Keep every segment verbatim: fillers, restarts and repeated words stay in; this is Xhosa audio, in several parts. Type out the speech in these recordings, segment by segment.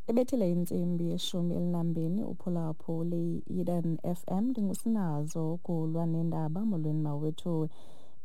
Ebethile intsimbi yeshumi elinambini uphulaphuli Eden F M ndingusinazo ukulwa nendaba. Molweni mawethu.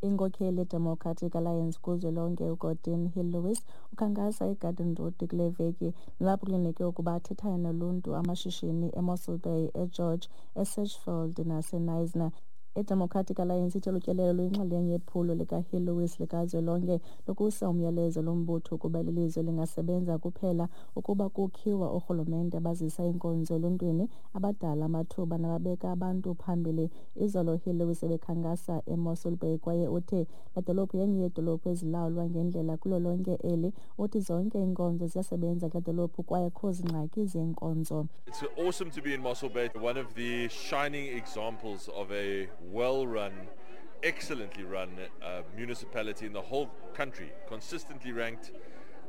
Inkokheli yeDemocratic Alliance kuzwelonke uGordon Hill-Lewis ukhankasa eGarden Road kule veki, nalapho kulindeleke ukuba athethane noluntu, amashishini eMossel Bay, eGeorge, eSedgefield naseKnysna. IDemocratic Alliance ithe lutyelelo luyinxalenye yephulo likaHill-Lewis likazwelonke lokusa umyalezo lombutho ukuba eli lizwe lingasebenza kuphela ukuba kukhiwa oorhulumente abazisa iinkonzo eluntwini, abadala amathuba nababeka abantu phambili. Izolo Hill-Lewis ebekhankasa eMossel Bay kwaye uthe le dolophu yenye yeedolophu ezilawulwa ngendlela kulo lonke eli. Uthi zonke iinkonzo ziyasebenza kule dolophu kwaye akukho zingxaki zeenkonzo. It's awesome to be in Mossel Bay, one of the shining examples of a well-run, excellently run uh, municipality in the whole country, consistently ranked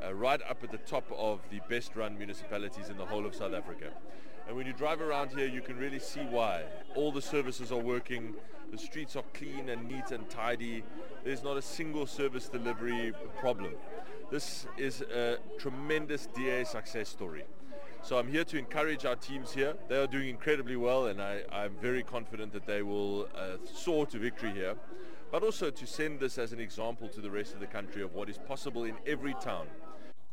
uh, right up at the top of the best-run municipalities in the whole of South Africa. And when you drive around here, you can really see why. All the services are working, the streets are clean and neat and tidy. There's not a single service delivery problem. This is a tremendous D A success story. So I'm here to encourage our teams here. They are doing incredibly well, and I, I'm very confident that they will uh, soar to victory here. But also to send this as an example to the rest of the country of what is possible in every town.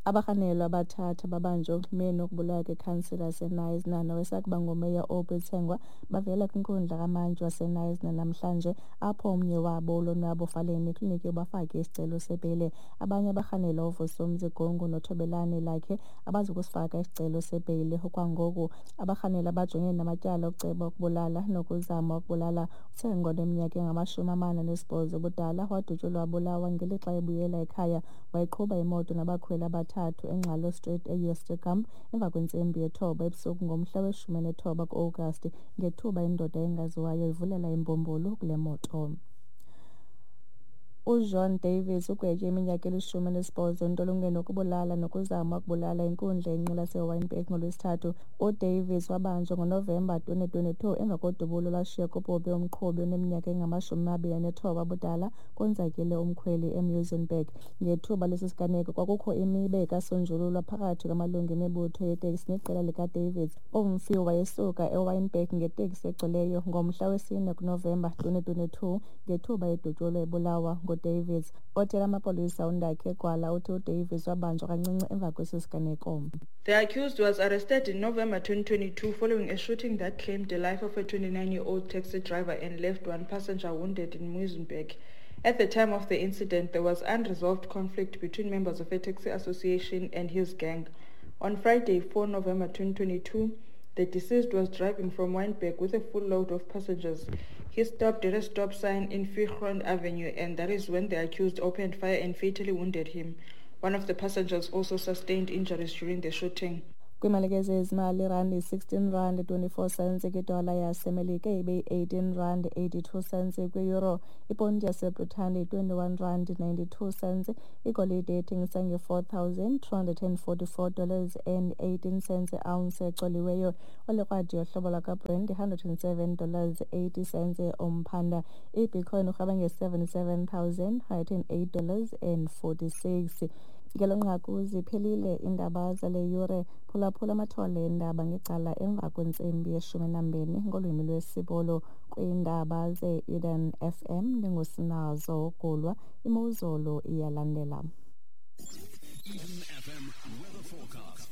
Abarhanelwa abathathu babanjwe oxhumeni ukubulawa kwekhansila yaseKnysna nowesakuba ngumeya Aubrey Tsengwa bavela kwinkundla kamantyi waseKnysna namhlanje, apho omnye wabo uLonwabo Faleni kliniki ubafake isicelo sebheyile. Abanye abarhanelwa uVusumzi Gongo noThobelani Lakhe abazukusifaka isicelo sebheyile okwangoku. Abarhanelwa bajongene namatyala okuceba ukubulala nokuzama ukubulala. UTsengwa oneminyaka engamashumi amane anesibhozo ubudala wadutyulwa wabulawa ngelixa ebuyela ekhaya. Wayeqhuba imoto nabakhweli abathathu eNgxalo Street eYesterkamp emva kwentsimbi yethoba ebusuku ngomhla weshumi nethoba ku-Agasti, ngethuba indoda engaziwayo ivulela imbumbulu kule moto. UJohn Davies ugwetywe iminyaka elishumi elinesibhozo entolongweni ukubulala nokuzama ukubulala inkundla yenqila yaseWynberg ngoLwesithathu. UDavies wabanjwa ngoNovemba twenty twenty-two emva kodubulo lwashiya kubhubhe umqhubi oneminyaka engamashumi amabini anethoba ubudala konzakele umkhweli eMuizenberg. Ngethuba lesi siganeko kwakukho imibe ekasonjululwa phakathi kwamalungu emibutho yeteksi neqela likaDavies. Umfi wayesuka eWynberg ngeteksi egcweleyo ngomhla wesine kuNovemba twenty twenty-two ngethuba edutyulwa ebulawa nguDavies. Othela amapolisa uNdakhe Gwala uthi uDavies wabanjwa kancinci emva kwesi siganeko. The accused was arrested in November twenty twenty-two following a shooting that claimed the life of a twenty-nine-year-old taxi driver and left one passenger wounded in Muizenberg. At the time of the incident, there was unresolved conflict between members of a taxi association and his gang. On Friday, four November twenty twenty-two, the deceased was driving from Wynberg with a full load of passengers. He stopped at a stop sign in Viergrond Avenue, and that is when the accused opened fire and fatally wounded him. One of the passengers also sustained injuries during the shooting. Kwimalike zezimali, irandi sixteen rand twenty-four cents kwidola yaseMelika ibe eighteen rand eighty-two cents kwi-euro. Iponti yaseBritane twenty-one rand ninety-two cents. Igolide ethengisa nge-four thousand two hundred and forty-four dollars and eighteen cents ounce ecoliweyo. Olikrwadi yohlobo lwakwaBrent hundred and seven dollars eighty cents umphanda. IBitcoin urhaba nge-seventy-seven thousand hundred and eight dollars and forty-six. Ngelo nqaku ziphelile iindaba zale yure. Phulaphula amathole eendaba ngecala emva kwentsimbi yeshumi nambini ngolwimi lwesiBhulu. Kwiindaba ze-Eden F M ndingusinazo Gulwa. Imozulu iyalandela. Eden F M weather forecast.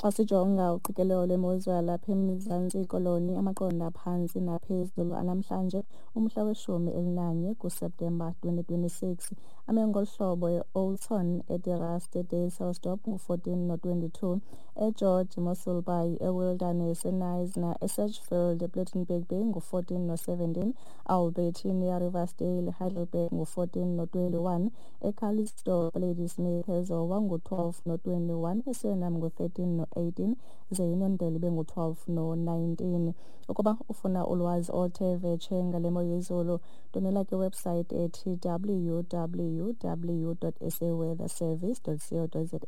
Xa sijonga uqikelelo lwemozulu yalapha eMzantsi Koloni, amaqondo aphantsi naphezulu anamhlanje umhla weshumi elinanye kuSeptemba twenty twenty-six ame ngolu hlobo: eOldton, eDe-Rust, eDysselsdorp ngu-fourteen no-twenty-two, eGeorge, Mossel Bay, eWilderness, eKnysna, eSedgefield, ePlettenberg Bay ngu-fourteen no-seventeen, Albertina, Riversdale, Heidelberg ngu-fourteen no-twenty-one, eCalitzdorp, Ladysmith, eZowa ngu-twelve no-twenty-one, eSuriname ngu-thirteen no-eighteen, ze iNondelo ibe ngu-twelve no-nineteen. Ukuba ufuna ulwazi oluthe vetshe ngale mo yezulu, ndonela kwiwebsite ethi w w w dot s a weather service dot co dot za.